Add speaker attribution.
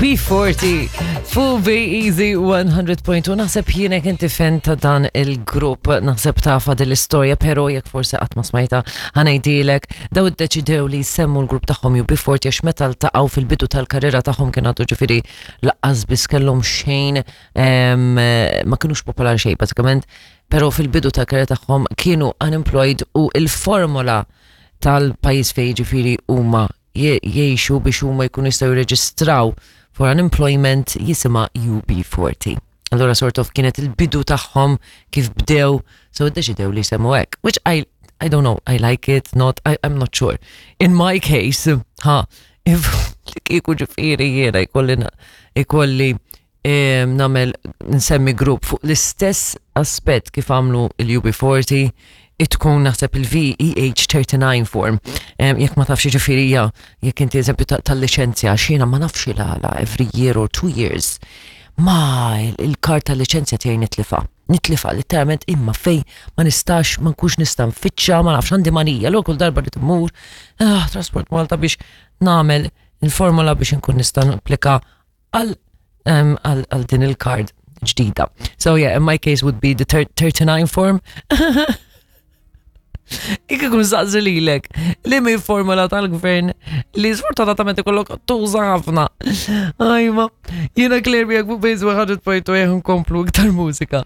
Speaker 1: UB40 fuq Be Easy 100.2 naħseb jienek inti fan ta' dan il-grupp naħseb tafa din l-istorja pero jekk forsi qatt ma smajta ħanajdilek daw iddeċidew li jsemmu l-grupp tagħhom UB40 għax meta ltaqgħu fil-bidu tal-karriera tagħhom kien għadu ġifieri laqqas biss kellhom xejn ma kinux popolari xejn bażikament pero fil-bidu tal-karriera tagħhom kienu unemployed u il-formola tal-pajjiż fejn ġifieri huma jgħixu biex huma jkunu jistgħu jirreġistraw for unemployment jisimha UB40. Allora sort of kienet il-bidu tagħhom kif bdew, so iddeċidew li jsemmu hekk, which I I don't know, I like it, not, I, I'm not sure. In my case, ha, if li kieku ġifieri jiena jkolli jkolli nagħmel nsemmi grupp fuq l-istess aspett kif għamlu il-UB40 tkun naħseb il-VEH 39 form. Jekk ma tafx ġifieri hija jekk inti eżempju tal-liċenzja x'jiena ma nafx il-għala every year or two years. Ma il-karta tal-liċenzja tiegħi nitlifa. Nitlifa letteralment imma fej ma nistax ma nkunx nista' nfittxa ma nafx għandi manija l kull darba li tmur ah, Transport Malta biex nagħmel il-formula biex inkun nista' napplika għal għal din il-card ġdida. So yeah, in my case would be the 39 form. Ikke kun saqsi lilek li mi formula tal-gvern li sfortunatament ikollok tuża ħafna. Ajma, jiena Claire miegħek fuq Base 100.2 nkomplu iktar mużika.